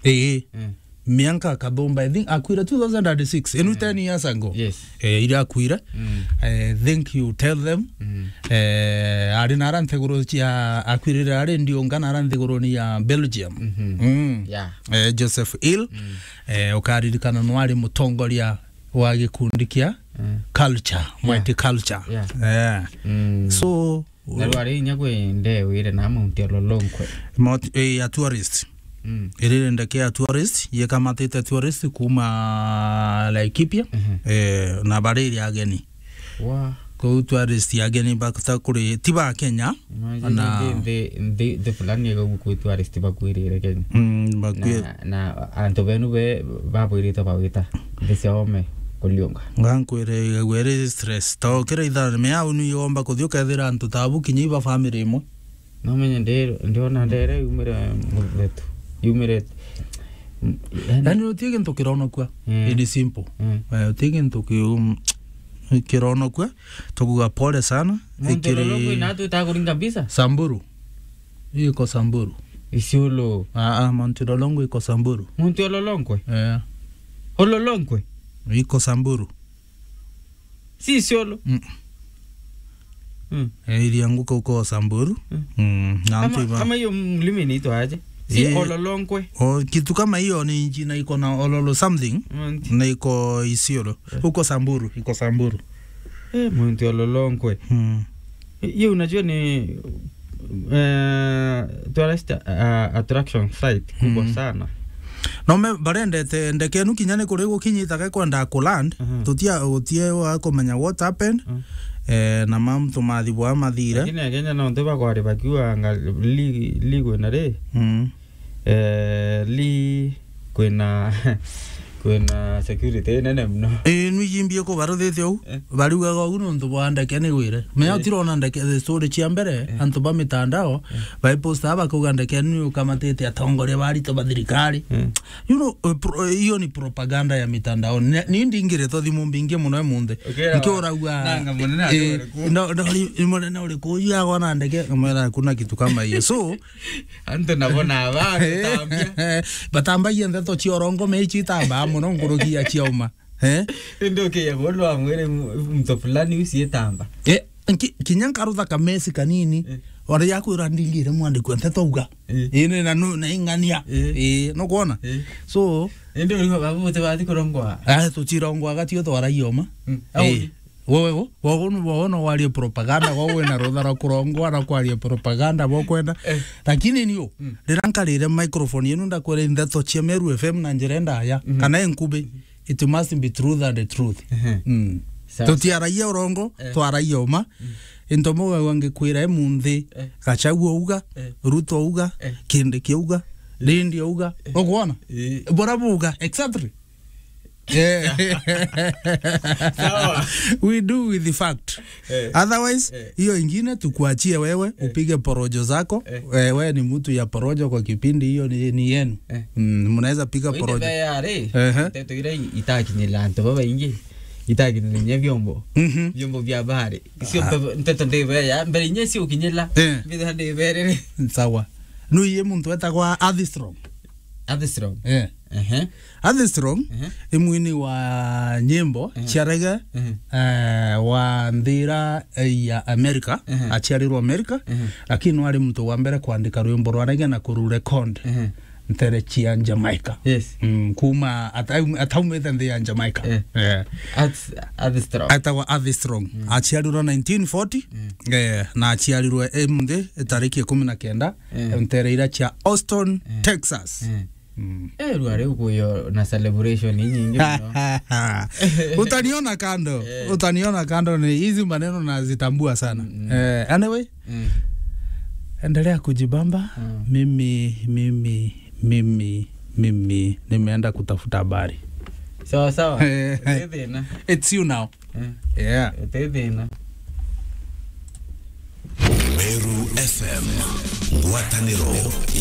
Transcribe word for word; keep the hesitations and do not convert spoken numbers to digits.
Eh. Mm. Mianka Kathumba, I think, akuire two thousand and six. Inu ten years ago. Yes. Eh, iria akuire. Mm. Eh, think you tell them. Mm. Eh, ari na ara nthiguru cia, akuirire ari Ndiunga na ara nthiguruni ya Belgium. Mhm. Mm. Yeah. Eh, Joseph Hill. Mm. Eh, ukaririkana no ari mutongoria wa gikundi kia Mm. culture, Yeah. multiculture. Yeah. Eh. Mm. So, Na rwari inya kwi ndee wire na Mount Ololonkwe. Mount, eh, ya tourist. Mm. Irire ndeke ya tourist, yekamatite tourist kuma Laikipia, Mhm. eh, na bari iri ageni. Wa. Kuu tourist ageni bakata kuri, ti ba Kenya, Imagine na nthi, nthi, nthi, nthi fulani ega guku tourist bakwirire Kenya. Mm, bakwi- Na, na antu benu be babwirite bawita nthi cia ome kuliunga. Ngankwire igagua iri stress. To kira ithaa ni au ni yomba kuthi ukethira antu tabu kinya iba family imwe. No menye ndi, ndiona ndere yumire muthetu. Yumire. Mm, yani Yani utie gintu kironokua. Mm. It is simple. Mm. Eh, utie gintu ki, um, kironokua. Tukuga pole sana. Muntu Ikiri lolo kwina atu itakuringa mbisa? Samburu. Iko Samburu. Isiolo. Ah, ah, Mount Lolongo iko Samburu. Muntu Ololonkwe? Eh. Ololonkwe? Iko Samburu. Si Isiolo? Mm. Mm. Eh, iria nguka uko Samburu. Mm. Mm. Na Ama, antu iba. Ama hiyo mlima inaitwa aje? Si Eh. Ololonkwe? O, kitu kama hiyo ni nchi na iko na Ololo something. Mm. Na iko Isiolo. Eh. Uko Samburu, iko Samburu. Eh, Mount Ololonkwe. Mm. Hiyo unajua ni, eh, tourist, ah, attraction site kubwa Mm. sana. No me barendete ndeke enu kinya ni kuri gukinyitaga kwenda ku land, Mhm. tutia, utie wa kumenya what happened. Mm. Eh, na mam tumathi bwa mathire. Lakini Kenya no nte bakwari bakiwa nga li, li kwina ri. Mm. Eh, li kwina, kwina security nene muno. Ii, nwijimbie kubaruthite uu. Eh. Bariugaga uu nontu bwa ndeke ni gwire. Menya Eh. utirona ndeke, the story cia mbere, Eh. antu ba mitandao, Eh. baiposta bakauga ndeke ni ukamatite atongoria barito ba thirikari. Eh. You know, eh, pro-, eh, hiyo ni propaganda ya mitandao. Ni, ni ndingire to thimu mbingi muno emunthe. Ukira Nikio wa-, urauga, nanga munene eh, ati uriku? no, no, ri-, munene uriku? Uyu agwa na ndeke, kamera, hakuna kitu kama hiyo. So, Antu nabo na aba, gutambia. Batambagia ndeto cia urongo, me icio itambaa muno nkuruki ya cia uma. Eh? Indi ukiya kundu wa mwiri mu-, muntu fulani ucio itamba. Eh, nki-, kinya nkarutha kamesi kanini, Eh. ori yakwira ndingire mwandiki wa nteto uga. Eh. Ii, ni na nu-, na ing'ania. Eh. Ii, nukwona? Eh. So, Indi uriuga babu buti bathi kurongwa? Ah, tutirongwaga tio twaragia uma. Mm. Au Ii. Wowe go, wowe nu, wowe no warie propaganda, wowe wina rutha rwa kurongwa na kwaria propaganda bokwenda. Eh. Lakini niu, Mm. rira nkarire microphone yenu ndakwira ndeto cia Meru F M na njira ndaya, Mm. kana enkubi, it must be truth and the truth. Ehe. Mm. Sawa. Tutiaragia urongo, Eh. twaragia uma. Mm. Into mugawa ngikwira emunthi, Eh. Gachagua uga, Eh. Ruto uga, Eh. Kindiki uga, Eh. Lindi uga. Eh. Ukwona? Eh. Bora buga, exactly. Eh. Sawa. We do with the fact. Eh. Otherwise, Eh. hiyo ingine tukuachie wewe, Eh. upige porojo zako. Eh. Wewe ni mtu ya porojo kwa kipindi hiyo ni, ni yenu. Eh. Mm, mnaweza piga Inde porojo. Beya ri, Ehe. Nteto ira i-, itakinyira antu babaingi. Itakinyira nye vyombo. Mhm. Vyombo vya habari. Icio Ah. nteto, nteto ndibeya, mbere inye cio kinyira. Eh. Mbitha ndiberere. Sawa. Nu iye muntu etagwa Arthstrong. Arthstrong. Eh. Ehe. Arthstrong, Ehe. i mwini wa nyimbo Ehe. cia rege, Ehe. eh, wa nthira, eh, ya America, Ehe. aciarirwo America, Ehe. lakini no ari muntu wa mbere kwandika rwimbo rwa rege na kuru record Ehe. ntere cia Jamaica. Yes. Mm, kuma ata-, ataumite nthi ya Jamaica. Eh. Eh. Arth-, Arthstrong. Etagwa Arthstrong. Mm. Aciarirwo nineteen forty, Mm. eh, na aciarirwe e munthi tariki ikumi na kenda, Eh. ntere ira cia Austin, Eh. Texas. Eh. Mm. Eh, rua riu kuyo na celebration inyingi muno. Utaniona kando. Eh. Utaniona kando, ni hizi maneno nazitambua sana. Mm, mm. Eh, anyway, Mm. endelea kujibamba. Mm. Mimi, mimi, mimi, mimi nimeenda kutafuta habari. Sawa, sawa. Eh. Uti thina. It's you now. Eh. Yeah. Uti thina. Meru F M, ngwatanĩro